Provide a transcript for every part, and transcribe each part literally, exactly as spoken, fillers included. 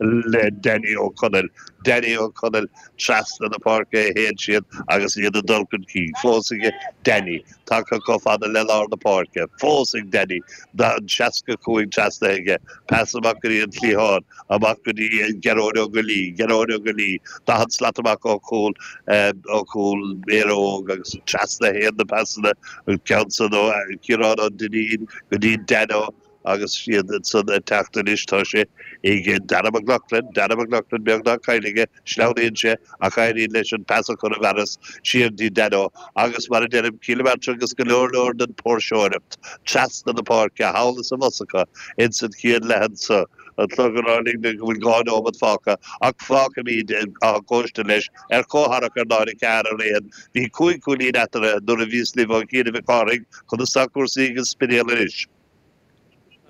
le Danny Ó Conaill. Danny Ó Conaill trasna na páirce a théann siad agus iad ag dul chun cinn. Fós ag Danny tagtha chomh fada le lár na páirce. Fós ag Danny seasca cúig trasna aige. Pas amach go dtí an cliathán amach go dtí Gearóid Ó Goillí, Gearóid Ó Goillí, daichead slat amach ó chúl ó chúl Éire Óg agus trasna a théann na pasanna an ceann san ó Ciarán Ó Duinnín go dtí Dano agus iad ansan ag teacht anois tá sé ag Dara McLaughlin, Dara McLaughlin beagnach caillte aige, sleamhnaíonn sé ach éiríonn leis an pas a chur i bhfearas siar dtí Dano agus mar a deirim Cill na Martra agus go leor leor den póirseoireacht trasna na páirce thall is abhus acu ins an chéad leath anso. An clog ag rá linn go bhfuil dhá nóiméad fágtha ach fágfaimid Áth Cóiste leis ar comhtharrac ar náid a ceathair ar aon. Bhí cúig chúilín eatarthu nuair a bhíos libh ó chianaibh a Chárthaigh. Conas tá cúrsaí ag an Spidéal anois?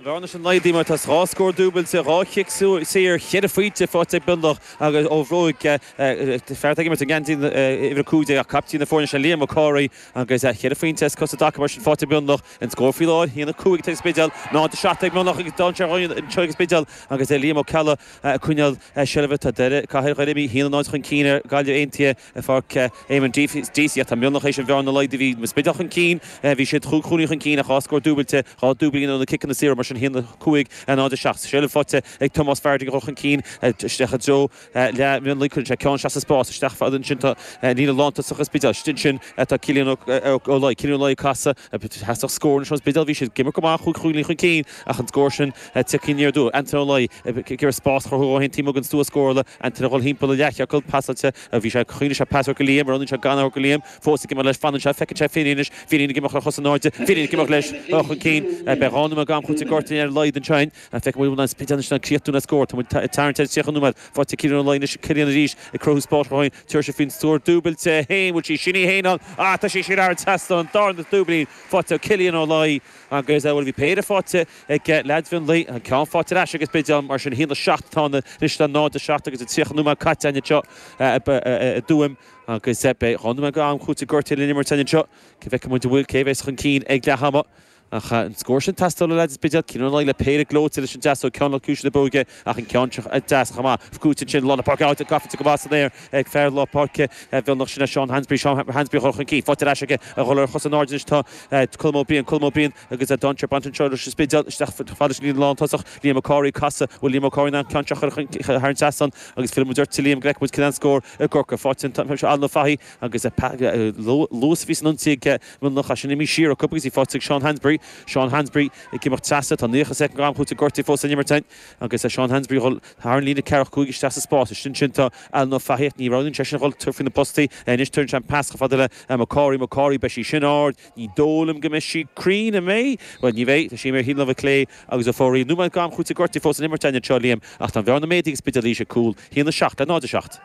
An bhearna sin laghdaithe mar tá dhá scór dúbailte, dhá chic saor, cheithre phointe faighte ag Mionlach agus ó bhróig fear atá ag imirt i ngeansaí uimhir a cúig déag ach caiptín na foirne sin Liam Mac Cárthaigh agus cheithre phointe as cos i dtaca mar sin faighte ag Mionlach. An scór faoi láthair, a haon a cúig ag an Spidéal, náid a seacht ag Mionlach agus dainséar anseo ag an Spidéal agus Liam Ó Ceallaigh ag coinneáil seilbhe. Tá Doire, Cathair Dhoire imithe a haon a náid chun cinn ar Ghaillimh Aontaithe i bPáirc Eamonn Deacy ach tá Mionlach théis an bhearna a laghdú. Bhí an Spidéal chun cinn, bhí siad chúig chúilín chun cinn ach dhá scór dúbailte, dhá dúiblín ó na ciceanna saora mar sin a haon a cúig a náid a seacht. Seilbh faighte ag Tomás Fardy ag dul chun cinn isteach i dtreo leath Mhionlaigh. Cuireann sé ceann isteach sa spás, isteach fada ansin tá líne lántosach an Spidéil. Istigh ansin tá Cillian Ó Laoi. Cillian Ó Laoi ag casadh. Theastaigh scór anois ón Spidéal. Bhí siad ag imirt go maith chúig chúilín chun cinn ach an scór sin tagtha aniar aduaidh. Antaine Ó Laoi ag iarraidh spás a chruthú dhó féin taobh amuigh den stua scórála. Antaine ag dul thimpeall an leathchiorcail. Pasáilte. Bhí sé, choinnigh sé pas a thabhairt go Liam. Roghnaíonn sé gan a thabhairt go Liam. Fós ag imeacht leis. Fanann sé. Feiceann sé Finian anois. Finian ag imeacht ar chosa in airde. Finian ag imeacht leis chun cinn. Beidh dhá nóiméad d'am cúitimh gortaithe ar a laghad ansin. Feicfidh muid an Spidéal anois in ann críochnú le scór. Tá muid ag tarraingt ar tríocha nóiméad. Faighte ag Cillian Ó Laoi anois. Cillian arís ag cruthú spáis dhó féin. Tabharfaidh sé faoin scór dúbailte féin. Bhfuil sí sin í féin ann? Ah, tá sí sin thar an trasnán. An darna dúiblín faighte ag Cillian Ó Laoi agus, bhuel, bhí péire faighte ag leaids Mhionlaigh. An ceann faighte ar ais ag an Spidéal. Mar sin, a haon a seacht atá ann anois le náid a seacht agus tríocha nóiméad caite againn anseo i dTuaim. Agus beidh dhá nóiméad d'am cúitimh gortaithe le n-imirt againn anseo. Cé bhfeicfidh muid an bhfuil, cé a bheas chun cinn ag leath ama. Ach an scór sin teastáil ó leaids an Spidéil, Cillian Ó Laoi le péire gleoite leis an deasóg, ceann le cluais na bróige ach an ceann seo deas chomh maith. Cúiteamh ansin lár na páirce, áit a gafa go maith san aer ag fear lár páirce Mhionlach, sin é Seán Hansberry, Seán Hansberry a dhul chun cinn. Faighte ar ais aige a dhul ar chosa in airde anois tá Colm Ó Briain, Colm Ó Briain agus dainséar bainte anseo leis an Spidéal isteach fad leis an líne lántosach, Liam Mac Cárthaigh ag casadh, bhfuil Liam Ó Cárthaigh in ann an ceann seo a chur thar an trasnán agus fillfidh muid ort a Liam go bhfeicfidh muid cén scór i gCorcaigh. Faighte an Alan Ó Fathaigh agus luas a bhí san ionsaí ag Mionlach sin imithe siar acu agus í faighte ag Seán Hansberry. Seán Hansberry ag imeacht trasna. Tá naocha soicind d'am cúitimh gortaithe fós san imirt againn agus Seán Hansberry ag dul thar an líne ceathracha cúig isteach sa spás. Ansin sin tá Alan Ó Fathaigh ach ní roghnaíonn seisean a dhul faoi na postaí. Anois tugann sé an pas chomh fada le McCorry. McCorry, beidh sí sin ard. Ní dóigh liom go mbeidh sí cruinn, an mbeidh? Bhuel, ní bheidh. Tá sí imithe ar thaobh na láimhe clé agus ó fóraíl. Nóiméad d'am cúitimh gortaithe fós san imirt againn anseo, Liam, ach tá an bhearna méadaithe ag an Spidéal arís ag cúl. A haon a seacht le náid a seacht.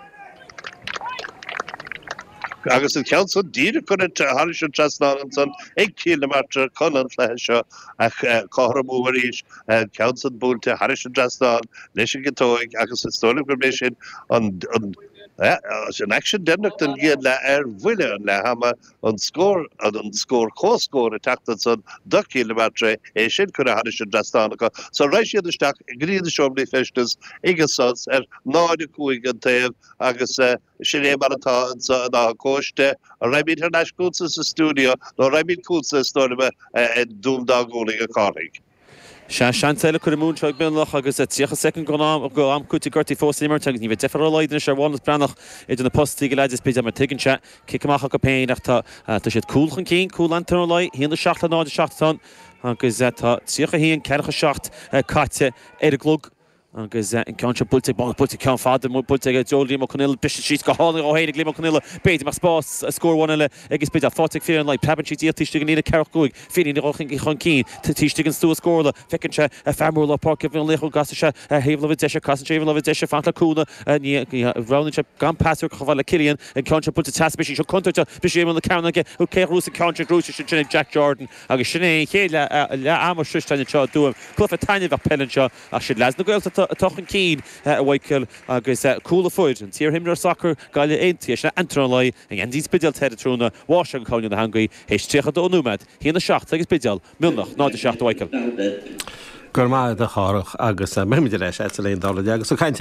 Agus an ceann san díreach curtha thairis an trasnán ansan ag Cill na Martra chun an chluiche seo a chothromú arís. An ceann san buailte thairis an dtrasnán leis an gciotóig agus is dóigh liom gurb é sin an an aicsean deireanach den gcéad leath ar bhuille an leath ama, an scór an scór comhscór ag teacht ansan do Chill na Martra, é sin curtha thairis an dtrasnán acu. So raghaidh siad isteach go dtí na seomraí feistis ag an sos ar náid a cúig an taobh agus Sin é mar atá anso in Áth Cóiste. An raghaimid thar n-ais chugatsa sa stiúideo nó raghaimid chugatsa is dóigh liom i dTuaim Dá Gualainn a Chárthaigh? Sea, seans eile curtha amú anseo ag Mionlach agus tríocha soicind go am cúitimh gortaithe fós san imirt agus ní bheidh deifir ar a laghad anois ar Mhánas Breathnach idir na postaí ag leaids an Spidéil mar tuigeann sé cic amach acu féin ach tá tá siad cúl chun cinn, cúl Antaine Ó Laoi, a haon a seacht le náid a seacht atá ann agus tá tríocha a haon, ceathracha seacht caite ar an gclog. Agus an ceann seo buailte ag buailte ceann fada buailte ag Joe Liam Ó Conaola briste síos go hálainn dhó féin ag Liam Ó Conaola. B'fhéidir go mbeadh spás scór amháin eile ag an Spidéal. Faighte ag Finian Ó Laoi. Preabann sí díot taobh istigh den líne ceathracha cúig. Finian ag dul chun cinn taobh istigh den stua scórála. Feiceann sé fear mór lár páirce Mhionlaigh go gcasann sé ar thaobh láimhe deise. Casann sé ar thaobh láimhe deise fanacht le cúnamh. Ní roghnaíonn sé gan pas a thabhairt chomh fada le Cillian. An ceann seo buailte trasna. Beidh sí seo contúirteach. Briseadh Éamonn na Cearnóige. Cé a ghnóthós an ceann sin? Gnóthaithe ansin ag Jack Jordan. Agus sin é an chéad leath ama sroiste againn anseo i dTuaim. Cluiche taitneamhach peile anseo. Ach siad leaids na Gaeltachta atá chun cinn, a Mhichael, agus cúl a fuair an t-iarimreoir sacair Gaillimh Aontaithe, sin é Antaine Ó Laoi, i ngeansaí an Spidéil tráthnóna, mháistir an Coimhne na heangaí, théis tríocha dó nóiméad, a haon a seacht ag an Spidéal, Mionlach, náid a seacht a Mhichael. Go raibh maith agat a Chárthach agus beimid ar ais agat sa léinn dá agus ag caint